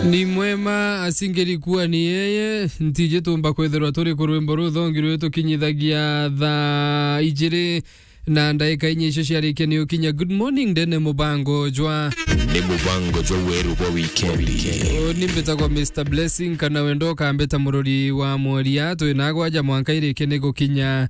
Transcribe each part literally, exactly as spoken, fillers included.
Ni mwema asingeri kuwa ni yeye, ntiji tumba kwithirwa turi ku rwimbo ruthongi rwi tukinyithagia thaa ijiri na ndaika inya icio ciarikia ni ukinya. Good morning, ndene mubango jwa. Ni mubango jwa weru bwa wikendi. O, ni mbitagwa Mister Blessing, kana wendo ukambita murori wa mworia. Twi nagwa ja mwanka irikia ni gukinya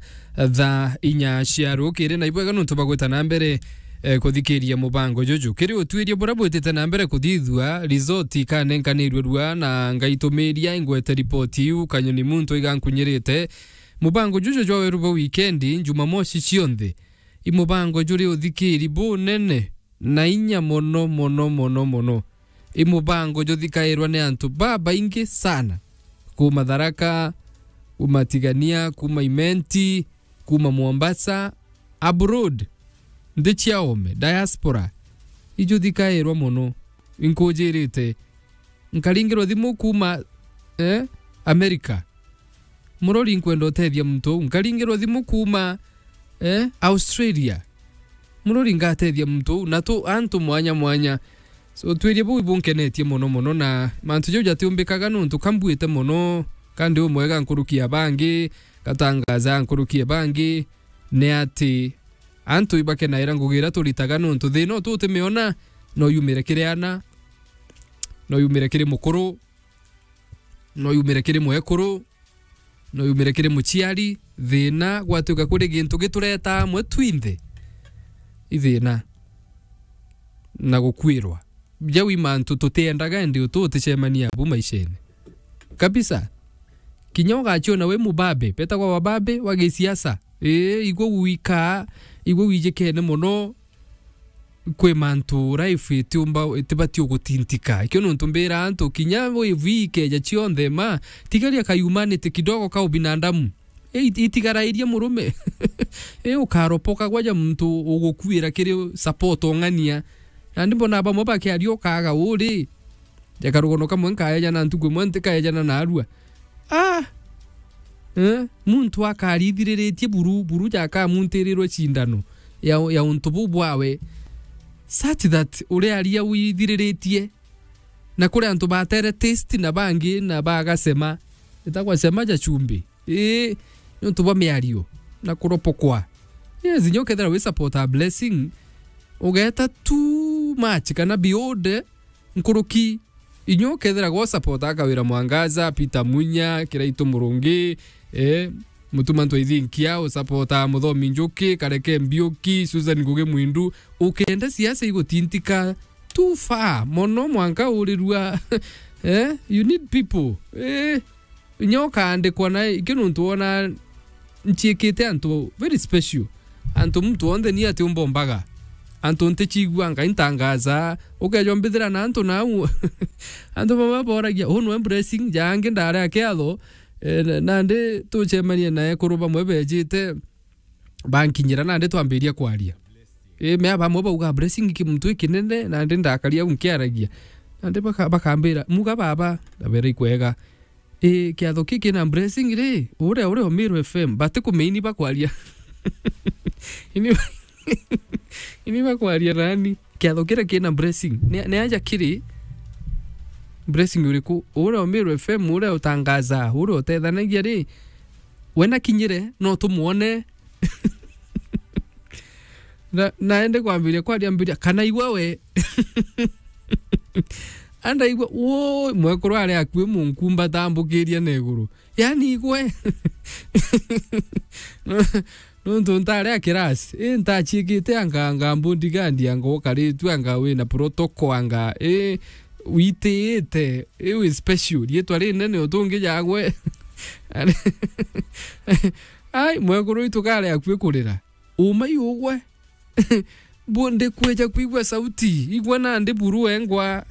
thaa inya cia rukiri, na ibwega nuntu bagwita na mbere, eh, kuthikiria mubango juju. Kiri utuiria buria bwitite na mbere kuthithua, resort ikanenkanirue rua na ngaitumiria ingwete ripoti iu kanyoni muntu igankunyirite. Mubango juju jwa weru bwa wikendi, Jumamosi cionthe, i mubango juri uthikiri bunene na inya mono, mono, mono, mono. I mubango juthikairwa ni antu babaingi sana, kuma Tharaka, kuma Tigania, kuma Imenti, kuma Mombasa, abroad, nthi cia ome, diaspora, ijuthikairwa mono. Inkujirite, nkaringirwa thimu kuma, eh, America. Murori, nkwenda utethia muntu uu. Nkaringirwa thimu kuma, eh, Australia. Murori, ngatethia muntu uu. Na tu antu mwanya mwanya. So, twirie buu ibunkenetie mono mono, na mantu jau jatiumbikaga nuntu kambuite mono, kandi umwega nkuruki ya bangi, gatangaza nkuruki ya bangi, ni ati antu ibakenaira ngugi iria turitaga, nuntu thina utu utimiona, no yumire kiri ana, no yumire kiri mukuru, no yumire kiri mwekuru, no yumire kiri muciari. Thina gwatuika kuri gintu gitureta amwe twinthe, i thina na gukwirwa. Jau i mantu tutiendaga, indi utu uticemania abu maishene kabisa. Kinya ugaciona wi mubabe, betagwa wababe wa gisiasa. Ii, igwe wikaa, igwe wijikene mono, kwi mantu life itiumba, itibati ugutintika. Ikio nuntu mbira antu, kinya wave ikeja cionthe, ma, tigaria ka humanity kidogo ka ubinadamu. Ii, it-, itigarairie murume. Ii, ukaropoka gwaja muntu ugukuira kiri support ong'ania. Nandi mbona bamwe bakiaria ukaga uri. Ja karugono kamwe nkaejana ntuku imwe ntikaejana narua. Ah! Eh? Muntu akarithiririritie buru, buru jakamuntirirwe cindano ya, ya untu buu bwawe. Such that uria aria withiriritie. Na kuri antu batere taste na bangi na bagasema. Itagwa sema ja chumbi. Ii, ni untu bwa miario na kuropokwa. Yes, inya ukethira wi support a Blessing, ugeta too much kana beyond nkuruki. Inya ukethira gwo support a Kawira Mwangaza, Peter Munya, Kiraitu Murungi, eh, Mutuma Ntwaithinkia, u support a Muthomi Njuki, Kareke Mbiuki, Susan Ngugi Mwindu, ukenda siasa igutintika too far mono mwanka urirua, eh, you need people, eh, inya ukaandikwa na ikio nuntu wona nchiikite antu very special. Antu muntu wonthe ni ati umbombaga. Antu ntichiguanga intangaza. Ukeja umbithira na antu nau. Antu bamwe boragia, "Uu nwe Blessing, ja angi ndari a kiatho." Eh, na-, nandi tucemanie na ekuru bamwe bejite, bankinyira nandi twambiria kwaria. Eh, mea bamwe bauga, "Blessing ki muntu ikinene," nandi ndakaria au nkiaragia. Nandi baka-, bakambira, "Muga baba," ndabera, "Ikwega." Ii, kiatho ki kina Blessing ri, uria uri o Meru F M, batikumeini bakwaria. Ini, ini bakwaria nani? Kiatho kiria kina Blessing. Ni, ni aja kiri Blessing uriku? Uria o Meru F M, uria utangaza, uria utethanagia ri, we nakinyire, no tumwone. Na, naende kwambiria kwaria mbiria, kana igwe we. Andaigua, "Woi, mwekuru ari akui munkumba tambukiria na iguru." Yani igwe. Nuntu ntari a kirasi, i ntachiikite anga, anga bodyguard, anga ukaritue, anga wina protocol, anga, i witiite, i wi special, riitwa rinene utungi jagwe. Ai, mwekuru itu kari akui kurira. Uma i ugwe. Bu-, ndikwija kwigua sauti. Igua nandi buru wengwa.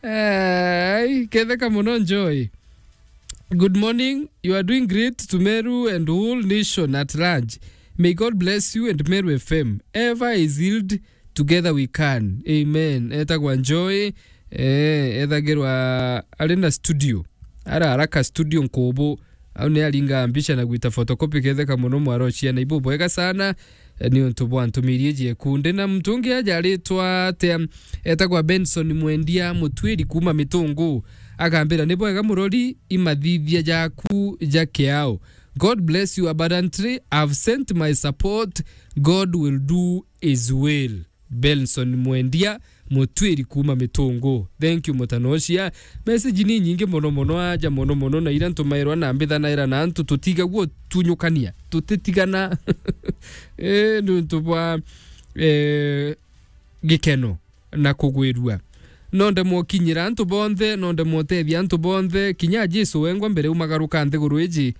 Ai, ketheka mono Joy. Good morning. You are doing great to Meru and whole nation at large. May God bless you and Meru F M. Ever is healed, together we can. Amen. Etagwa Joy. Eh, ethagirwa ari na studio. Ara haraka studio nkubu. Au ni aringa mbica na gwita photocopy, ketheka mono mwaro ciana ibu bwega sana. eh, ni untu bwa ntumirie jiekunde. Na muntu ungi aja aritwa atia? Etagwa Benson Mwendia Mutwiri kuuma Mitungu. Akambira, "Ni bwega murori, imathithia jaku ja kiao. God bless you abundantly. I've sent my support. God will do his will." Benson Mwendia Mutwiri kuuma Mitungu. Thank you, mutanocia. Message ni nyingi mono mono, aja mono mono, na ira ntumairwa na mbithanaira na antu tutigagua tunyukania, tutitigana. Eh, ni untu bwa, eh, gikeno na kugwirua. No ndemwe ukinyira antu bonthe, no ndemwe utethia antu bonthe, kinya Jesu wengwa mbere umagaruka nthiguru iji,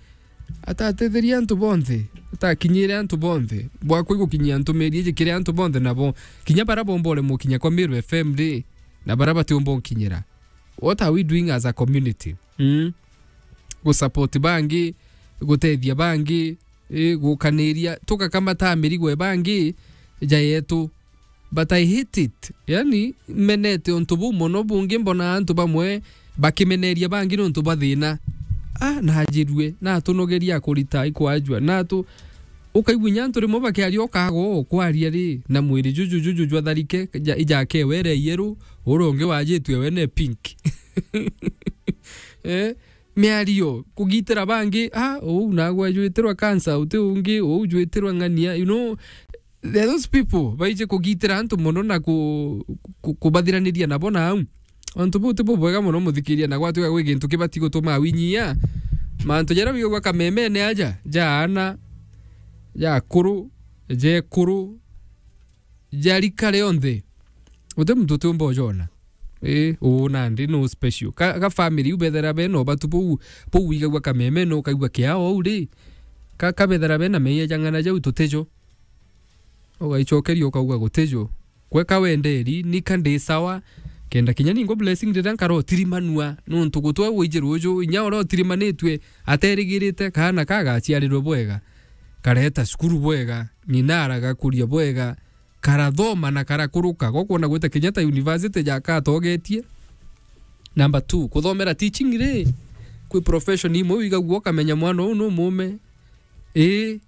atatetheria antu bonthe, atakinyire antu bonthe. Bwakwa igukinyia ntumiri iji kiri antu bonthe nabo, kinya bara bomba uremwa ukinya kwa Meru F M ri, na bara batiumba unkinyira. What are we doing as a community? Mm? Gusupport bangi, gutethia bangi, eh, gukaniria, tugakamata mirigo e bangi ja yetu. But I hate it. Yani, menete untu buu mono, bungi mbona antu bamwe bakimeneria bangi nontu bwa thina. Ah, najirue, natunogeria kurita ikwajua. Natu, ukaigua inya antu rimwe bakiaria ukaga o kwaria ri, na mwiri juju, juju jwa tharike, ja, ijake were yeru, uria ungi wajitue we ne pink. Eh, miario, kugitira bangi, ah, uu nagwe jwitirwa cancer, uti ungi, uu jwitirwa ng'ania, you know, there are those people baije kugitira antu mono na ku-, ku-, kubathiraniria nabo na au. Antu buu ti bubwega mono muthikiria, na gwatuika gwi gintu kibati gutuma winyia. Mantu jaria wigagua kamemene aja, ja ana, ja akuru, ja ekuru, ja rika rionthe. Uti muntu utiumba ujona. Ii, uu nandi no special. Ka, ka family u bethera bena ubatu buu, buu wigagua kameme no ukaigua kiao au ri. Ka, kabethera bena meia jang'ana jau tutijo. Ugaicokeria ukauga gutijo. Kweka wenderi, nika ndi sawa. Kenda kinya ningwa blessing riria nkara utirimanua, nontu gutwa wiji ruju, inya uria utirimanitue, aterigirite kaana kagaciarirwe bwega, kareta cukuru bwega, ng'ina aragakuria bwega, karathoma na karakuruka, gokwona gwita kinya ta university jakatogetie. Number two, kuthomera teaching ri, kwi profession imwe wigagua ukamenya mwana uu nu mume. Ii,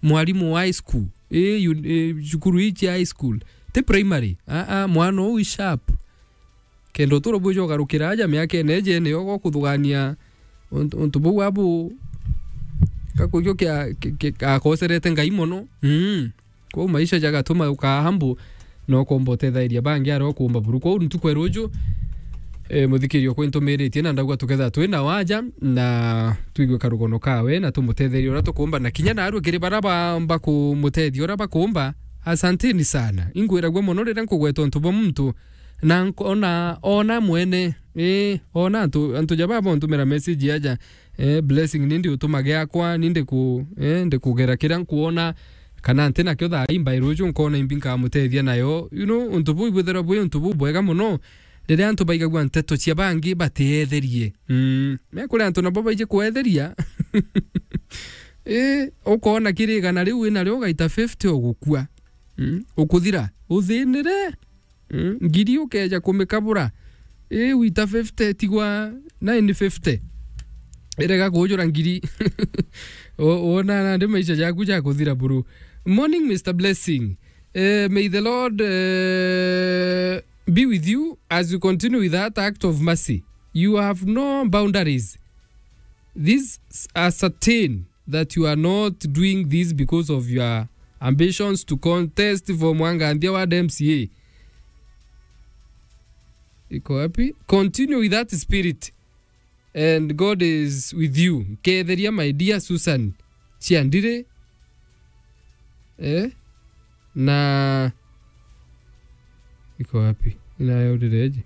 mwarimu wa high school. Ii, yu-, ii, cukuru ii cia high school. Ti primary. Aa, mwana uu i sharp. Kenda uturo bwija ugarukira aja miakene iji niyo gokuthugania untu, untu buu abu gakwigua kia, ki-, ki-, gakoserete Ngai mono. Mm. Kwou maisha jagatuma ukaa humble, na ukomba utethairia bangi aria ukumba buru. Kwou ntuku ya ruju, eh, muthikirio kwi ntumiritie, na ndauga tukethira twi na waja, na twigue karugono kawe, na tumutetherie uria tukumba, na kinya narua kiri baria baamba kumutethia uria bakumba, asanteni sana. Ingwiragua mono riria nkugweta untu bwa muntu, na nk-, ona, ona mwene, ii, ona antu, antu ja baba untumira message aja, eh, blessing, ni ndi utuma giakwa, ni ndi ku-, eh, ndi kugera kiria nkuona, kana nti nakio thaa ii mbai ruju nkona imbi nkamutethia nayo. You know, untu buu ibwithirwa bwi untu bubwega mono, riria antu baigagua nteto cia bangi batietherie. Mm. Me kuri antu nabo baiji kwetheria. Ii, ukoona kiri igana riu wina rio ugaita fifty ugukua. Mm. Ukuthira, uthinire. Mm, ngiri ukeja kumikabura. Ii, wita fifty, tigwa nine fifty. Irega kujura ngiri. O-, wona nandi maisha jaku jakuthira buru. Morning, Mister Blessing. Eh, may the Lord, eh, be with you as you continue with that act of mercy. You have no boundaries. These are certain that you are not doing this because of your ambitions to contest for Mwanganthia Ward M C A. Iko wapi? Continue with that spirit and God is with you. Ketheria, my dear Susan Chiandire. Eh? Na iko wapi? Inayaurireje?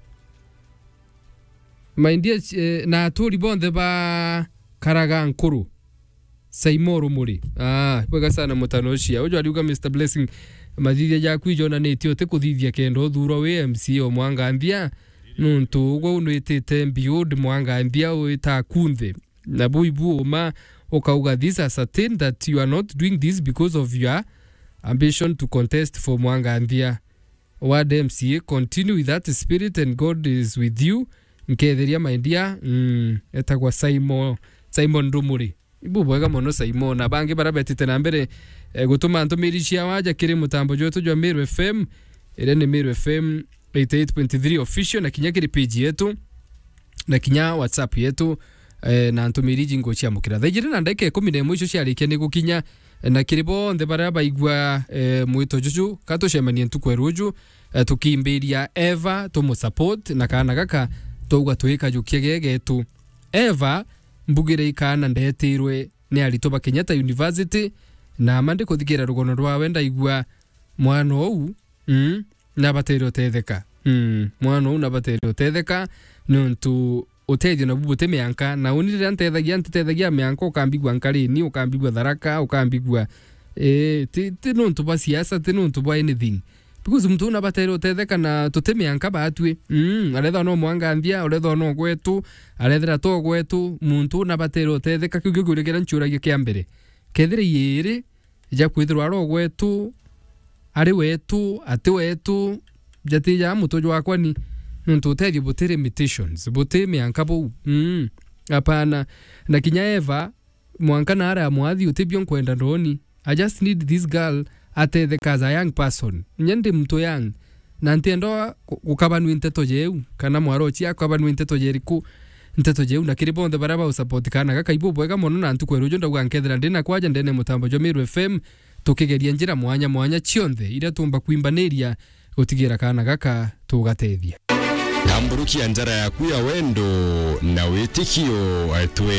My dear, eh, na aturi bonthe ba Karaga Nkuru. Saimo Rumuri. Ah, bwega sana mutano ucia. Uju ariuga, Mister Blessing, mathithia jaku ijonanitie uti kuthithia kenda uthurwa wi M C A o Mwanganthia. Nuntu ugwe unwitite mbiud Mwanganthia wita kunthe. Na buu ibu uma ukauga, these are certain that you are not doing this because of your ambition to contest for Mwanganthia Ward M C A. Continue with that spirit and God is with you. Nketheria, my dear. Mm, etagwa Simon, Simon Rumuri. Ibubwega mono, Simon. Na bangi baria betite na mbere, eh, gutuma ntumiri cia waja kiri mutambo jwetu jwa Meru F M, iria ni Meru F M eighty-eight point three official, na kinya kiri page yetu, na kinya WhatsApp yetu, eh, na ntumiri iji nguciamukira. Thaa ijiri na ndagika ikumi na imwe icio ciarikia ni gukinya, eh, na kiri bonthe baria baigua, eh, mwito juju, ka tucemanie ntuku ya ruju, eh, tukimbiria Eva, tumusupport, na kaana gaka twauga twikajukia gegetu. Eva, mbugire ikaana ndetirwe ni aritwa ba Kenyatta University, na ma ndikuthikiira rugono rwawe ndaigua mwana uu, mm, nabatere utetheka. Mm, mwana uu nabatere utetheka, niuntu utethio nabu buti mianka, na uni riria ntethagia, ntitethagia mianka, ukambigua Nkarini, ukambigua Tharaka, ukambigua, eh, ti, ti nuntu bwa siasa, ti nuntu bwa anything. Because muntu uu nabatere utetheka na tuti mianka batwi. Mm, arethwa no mwanganthia, arethwa no gwetu, arethira to gwetu, muntu uu nabatere utetheka. Kiu kiu kiuria kiria ncuragia kia mbere. Kethira iiri ja kwithirwa ari o gwetu, ari wetu, ati wetu, jati ja mutwe jwakwa ni, nontu utethio buti limitations, buti mianka buu. Mm, apana. Na kinya Eva, mwanka naara mwathi utibio nkwenda ndoni. I just need this girl atetheka as a young person. Nya ndi muntu young. Na ntienda ku-, gukabanua nteto jeu, kana mwarochi akabanua nteto jeriku, nteto jeu, na kiri bonthe baria bausupport kaana gaka, ibubwega mono, na ntuku ya ruju ndauga nkethira ndi na kwaja ndene mutambo jwa Meru F M, tukigeria njira mwanya mwanya cionthe iria tuumba kwimbaniria gutigira kaana gaka tugatethia. Tamburukia njara yaku ya wendo na witikio, twe